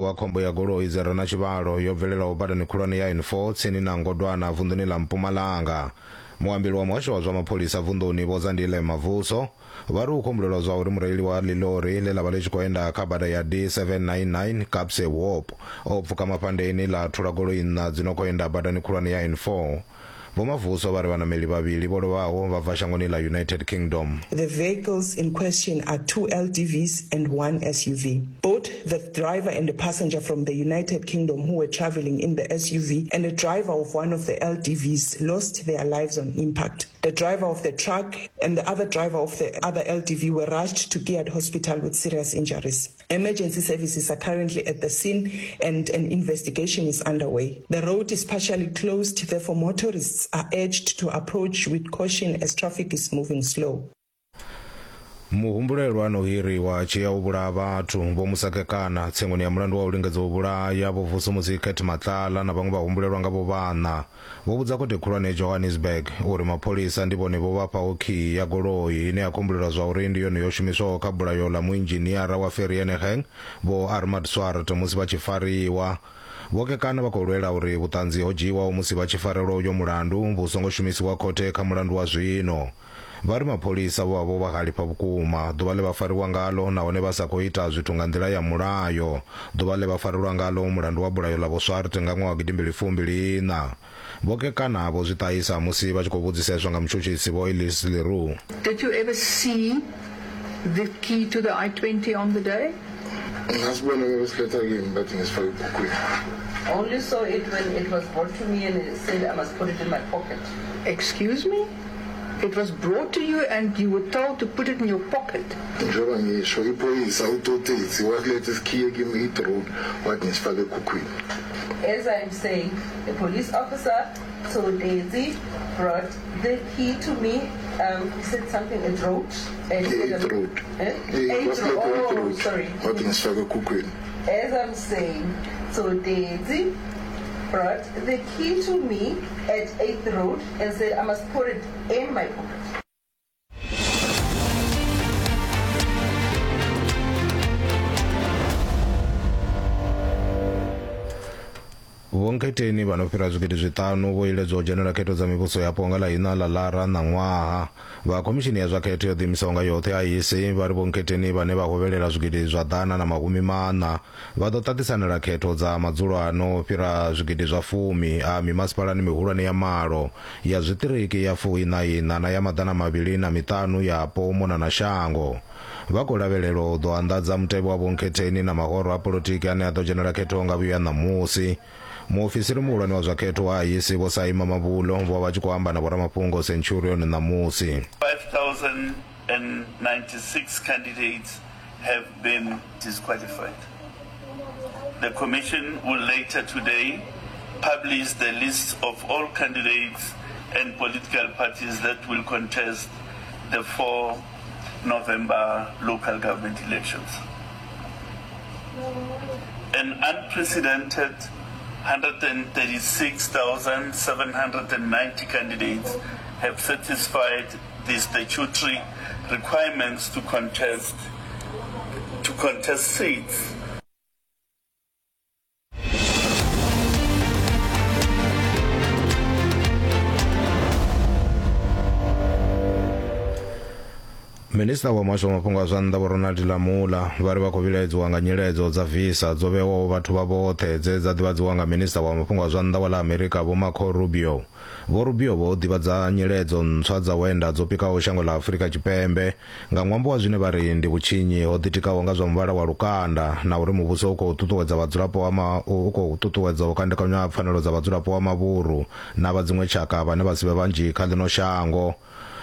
Wa khombo ya goloi dzi re na tshivhalo yo bvelelaho badani khulwane ya N4 tsini na Ngodwana vunḓuni ḽa Mpumalanga. Muambeli wa muhasho wa zwa mapholisa vunḓuni Vho Zandile Mavuso vha ri hu khou humbulelwa zwa uri mureili wa ḽiḽori ḽe ḽa vha ḽi tshi khou enda kha bada ya D799 Kaapse Hoop o pfuka mafhandeni ḽa thula goloi nṋa dzi no khou enda badani khulwane ya N4. Vho Mavuso vha ri vhanameli vhavhili vho lovhaho vha bva shangoni ḽa United Kingdom. The vehicles in question are two LDVs and one SUV. Both the driver and a passenger from the United Kingdom who were travelling in the SUV and a driver of one of the LDVs lost their lives on impact. The driver of the truck and the other driver of the other LDV were rushed to Gilead Hospital with serious injuries. Emergency services are currently at the scene and an investigation is underway. The road is partially closed, therefore motorists are urged to approach with caution as traffic is moving slow. Muhumbulelwa ano hiriwa a tshi ya u vhulaha vhathu Vho Musa Kekana tsengoni ya mulandu wa u lingedza u vhulaya Vho Vusumuzi Cat Matlala na vhaṅwe vhahumbulelwa nga vho vhaṋa Vho vhudza khothe khulwane ya Johannesburg uri mapholisa ndi vhone vho vha fhaho khiyi ya goloi ine ya khou humbulelwa zwauri ndi yone yo shumiswaho kha bulayo ḽa muinzhiniara wa Vereeniging Vho Armand Swart musi vha tshi fariwa. Vho Kekana vha khou lwela uri vhuṱanzi ho dzhiiwaho musi vha tshi farelwa uyo mulandu vhu songo shumisiwa khothe kha mulandu wa zwino. Vha ri mapholisa vho vha vho vha halifha vhukuma ḓuvha ḽe vha fariwa ngaḽo nahone vha sa khou ita zwithu nga nḓila ya mulayo ḓuvha ḽe vha farelwa ngaḽo mulandu wa bulayo ḽa Vho Swart nga ṅwaha wa gidimbili fumbili iṋa. Vho Kekana vho zwi ṱahisa musi vha tshi khou vhudziseswa nga mutshutshisi Vho Elise Le Roux. Did you ever see the key to the I-20 on the day? Ngasibona besiletha kimi bathi ngisifake ebhukwini. Only saw it when it was brought to me and it said I must put it in my pocket. Excuse me? It was brought to you and you were told to put it in your pocket. Njengoba ngisho iphoyisa uTotetsi wasiletha isikhiye kimi i-drone wathi ngisifake ekhukhwini. As I am saying, the police officer Tsotetsi brought the key to me. He said something a road. Eighth road. Eh? Eighth road. Oh, sorry. Wathi ngisifake ekhukhwini. As I'm saying, Tsotetsi brought the key to me at 8th Road and said I must put it in my pocket. Vho Nkhetheni vha no fhira zwigidi zwiṱanu vho iledzwa u dzhenela khetho dza mivhuso yapo nga ḽa iṋa ḽa Lara ṋaṅwaha. Vha khomishini ya zwa khetho yo ḓiimisaho nga yoṱhe IEC vha ri Vho Nkhetheni vhane vha hovhelela zwigidi zwa 140 vha ḓo ṱaṱisanela khetho dza madzulo a no fhira zwigidi zwa fumi a mimasipalani mihulwane ya malo, ya zwiṱiriki ya fuiṋa iṋa na ya 205 yapo u mona na shango. Vha khou lavhelelwa u ḓo anḓadza mutevhe wa vhonkhetheni na mahoro a polotiki ane a ḓo dzhenela khetho nga vhuya ṋamusi. Muofisiri muhulwane wa zwa khetho wa IEC Vho Saima Mabulo vho vha vha tshi khou amba na vhoramafhungo Centurion ṋamusi. 5,096 candidates have been disqualified. The Commission will later today publish the list of all candidates and political parties that will contest the 4 November local government elections. An unprecedented 136,790 candidates have satisfied the statutory requirements to contest to contest seats. Minisiṱa wa muhasho wa mafhungo a zwa nnḓa Vho Ronald Lamola vha ri vha khou vhilaedziwa nga nyiledzo dza visa dzo vhewaho vhathu vha vhoṱhe dze dza ḓivhadziwa nga minisiṱa wa mafhungo a zwa nnḓa wa ḽa Amerika Vho Marco Rubio. Vho Rubio vho ḓivhadza nyiledzo ntswa dza u enda dzo pikaho shango ḽa Afrika Tshipembe nga ṅwambo wa zwine vha ri ndi vhutshinyi ho ḓitikaho nga zwa muvhala wa lukanda na uri muvhuso u khou ṱuṱuwedza vhadzulapo wa ma, u khou ṱuṱuwedza u kandekanywa ha pfanelo dza vhadzulapo wa mavhuru na vha dziṅwe tshaka vhane vha si vhe vhanzhi kha ḽino shango.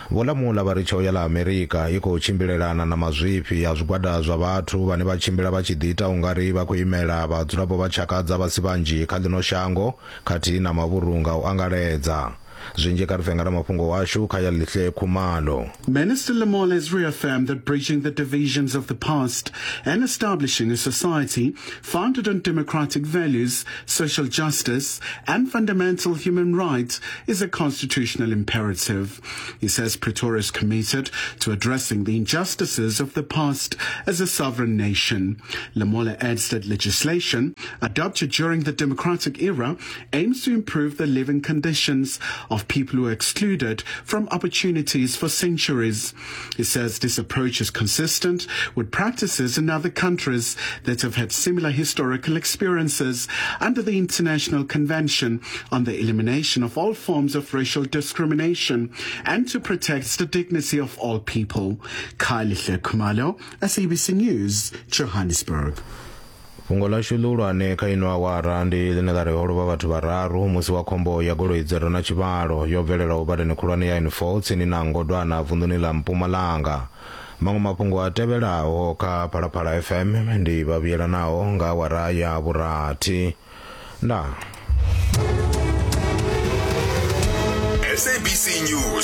Vho Lamola vha ri tsheo ya ḽa Amerika i khou tshimbilelana na mazwifhi a zwigwada zwa vhathu vhane vha tshimbila vha tshi ḓiita ungari vha khou imela vhadzulapo vha tshaka dza vha si vhanzhi kha ḽino shango khathihi na mavhuru nga u angaredza. Zwinzhi kha ri pfe nga ramafhungo washu Khaya Lihle Khumalo. Minister Lamola has reaffirmed that bridging the divisions of the past and establishing a society founded on democratic values, social justice, and fundamental human rights is a constitutional imperative. He says Pretoria is committed to addressing the injustices of the past as a sovereign nation. Lamola adds that legislation adopted during the democratic era aims to improve the living conditions of people who are excluded from opportunities for centuries. He says this approach is consistent with practices in other countries that have had similar historical experiences under the International Convention on the Elimination of All Forms of Racial Discrimination and to protect the dignity of all people. Kylie Khumalo, SABC News, Johannesburg. Fhungo ḽashu ḽihulwane kha ino awara ndi ḽine ḽa ri ho lovha vhathu vhararu musi wa khombo ya goloi dzi re na tshivhalo yo bvelelaho badani khulwane ya N4 tsini na Ngodwana vunḓuni ḽa Mpumalanga. Maṅwe mafhungo a tevhelaho kha Phalaphala FM ndi vha vhuyelanaho nga awara ya vhurathi. Ndaa. SABC News.